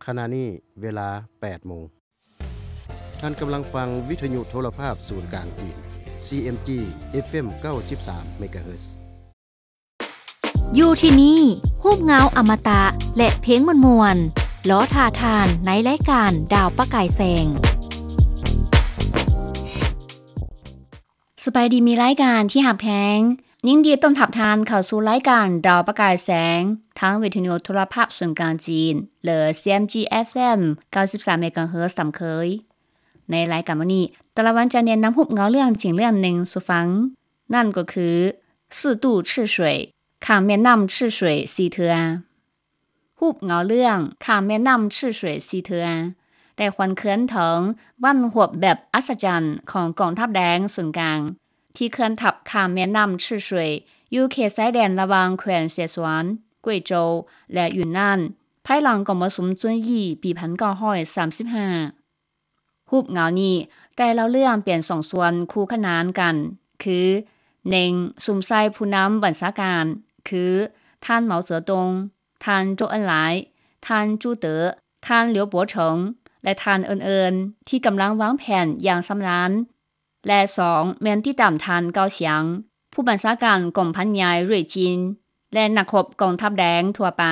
ຂະນະນີ້ເວລາແປດໂມງ. ທ່ານກຳລັງຟັງວິທະຍຸໂທລະພາບສູນກາງຈີນ ຊີເອັມຈີ ເອັຟເອັມ ເກົ້າສິບສາມເມກາເຮີດ. ຢູ່ທີ່ນີ້ ຮູບເງົາອະມະຕະ ແລະ ເພງມ່ວນໆ ລໍຖ້າທ່ານໃນລາຍການດາວປະກາຍແສງ. ສະບາຍດີ ມິດລາຍການທີ່ຮັກແພງ, ຍິນດີຕ້ອນຮັບທ່ານເຂົ້າສູ່ລາຍການດາວປະກາຍແສງ ທາງວິທະຍຸໂທລະພາບສູນກາງຈີນ ຫຼື ຊີເອັມຈີ ເອັຟເອັມ ເກົ້າສິບສາມເມກາເຮີດຕາມເຄີຍ. ໃນລາຍການມື້ນີ້ ຕາລະວັນຈະແນະນຳຮູບເງົາເລື່ອງຈິງເລື່ອງໜຶ່ງສູ່ຟັງ, ນັ້ນກໍຄື 四渡赤水, ຂ້າມແມ່ນ້ຳ赤水ສີ່ເທື່ອ. ຮູບເງົາເລື່ອງ ຂ້າມແມ່ນ້ຳ赤水ສີ່ເທື່ອ ໄດ້ຫວນຄືນເຖິງບັ້ນຫວບແບບອັດສະຈັນຂອງກອງທັບແດງສູນກາງ ທີ່ເຄື່ອນທັບຂ້າມແມ່ນ້ຳ赤水 ຢູ່ເຂດຊາຍແດນລະຫວ່າງແຂວງເຊຊວນ, ກວຍໂຈວ ແລະ ຢຸນນານ ພາຍຫຼັງກອງປະຊຸມຈຸນຢີປີພັນເກົ້າຮ້ອຍສາມສິບຫ້າ. ຮູບເງົານີ້ໄດ້ເລົ່າເລື່ອງເປັນສອງສ່ວນຄູ່ຂະໜານກັນ ຄື ໜຶ່ງ ສຸມໃສ່ຜູ້ນຳບັນຊາການ ຄື ທ່ານ ເໝົາເຈີຕົງ, ທ່ານ ໂຈເອິນຫຼາຍ, ທ່ານ ຈູເຕີ, ທ່ານ ຫຼຽວປົວເຖິງ ແລະ ທ່ານອື່ນໆ ທີ່ກຳລັງວາງແຜນຢ່າງຊຳນານ ແລະ ສອງ ແມ່ນຕິດຕາມທ່ານ ເກົາສຽງ ຜູ້ບັນຊາການກອງພັນໃຫຍ່ເຣຍຈິນ ແລະ ນັກຮົບກອງທັບແດງທົ່ວໄປ.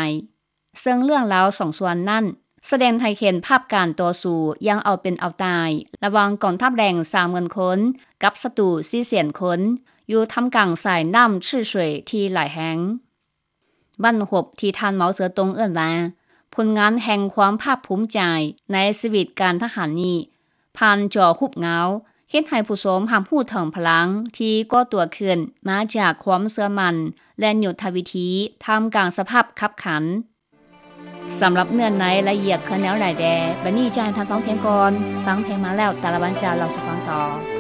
ເຊິ່ງເລື່ອງລາວສອງສ່ວນນັ້ນ ສະແດງໃຫ້ເຫັນພາບການຕໍ່ສູ້ຢ່າງເອົາເປັນເອົາຕາຍ ລະຫວ່າງກອງທັບແດງສາມໝື່ນຄົນ ກັບສັດຕູສີ່ແສນຄົນ ຢູ່ທ່າມກາງສາຍນ້ຳຊື່ສວຍທີ່ຫຼາຍແຫ່ງ. ບັ້ນຮົບທີ່ທ່ານ ເໝົາເສືອຕົງ ເອີ້ນວ່າ ຜົນງານແຫ່ງຄວາມພາກພູມໃຈໃນຊີວິດການທະຫານນີ້ ຜ່ານຈໍຮູບເງົາ ເຮັດໃຫ້ຜູ້ຊົມຮັບຮູ້ເຖິງພະລັງທີ່ກໍ່ຕົວຂຶ້ນມາຈາກຄວາມເຊື່ອໝັ້ນ ແລະ ຍຸດທະວິທີ ທ່າມກາງສະພາບຄັບຂັນ. ສຳລັບເນື້ອໃນລະອຽດຄືແນວໃດແດ່, ບັດນີ້ຈະໃຫ້ທ່ານຟັງພຽງກ່ອນ. ຟັງພຽງມາແລ້ວ, ຕາລະວັນຈະເລົ່າສູ່ຟັງຕໍ່.